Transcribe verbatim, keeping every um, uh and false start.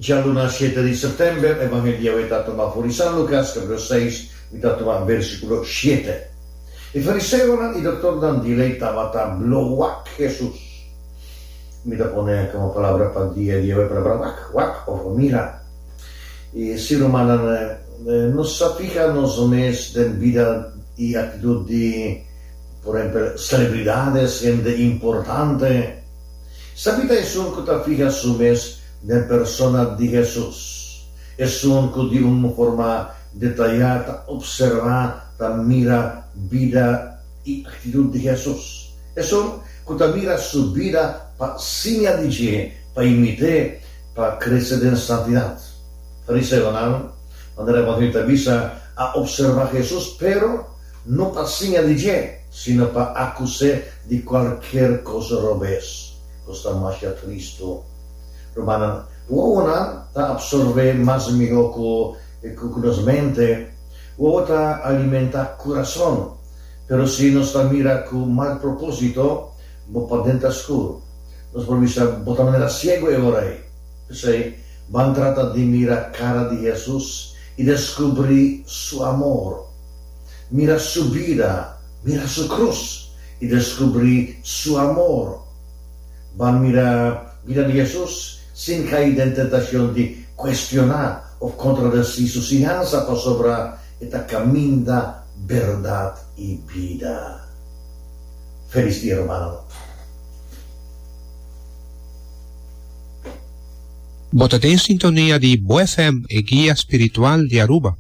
Djaluna shete di sèptèmber, Evangelio awe ta tuma for di San Lukas kapítulo seis, mi ta tuma versíkulo shete. E fariseonan i doktornan di lei tabata blo wak Hesus. Mi ta pone komo palabra pa dia di awe palabra wak, wak òf mira. I si rumannan, nos sa fiha nos mes den bida i aktitut di, por ehèmpel, selebridates, hende importante. Sabí ta esun ku ta fiha su mes den persona di Hesus, esun ku di un forma detayá ta opservá, ta mira bida i aktitut di Hesus, esun ku ta mira su bida pa siña di dje, pa imit'é, pa krese den santidat. Fariseonan, manera Evangelio ta bisa, a opservá Hesus, pero no pa siña di dje, sino pa akus'é di kualkier kos robes. Kos ta masha tristu. Rumannan, wowonan ta apsorbé mas mihó ku ku nos mente. Wowo ta alimentá kurason. Pero si nos ta mira ku mal propósito, bo paden ta skur. Nos por bisa bo ta manera siegu e ora ei. P'esei, ban trata di mira kara di Hesus i deskubrí su amor. Mira su bida, mira su krus i deskubrí su amor. Ban mira bida di Hesus sin kai den tentashon di kuestioná òf kontradesí su siñansa pasobra e ta kaminda, bèrdat i bida. Felis dia rumannan. Bo ta den sintonia di Bo F M, e guia spiritual di Aruba.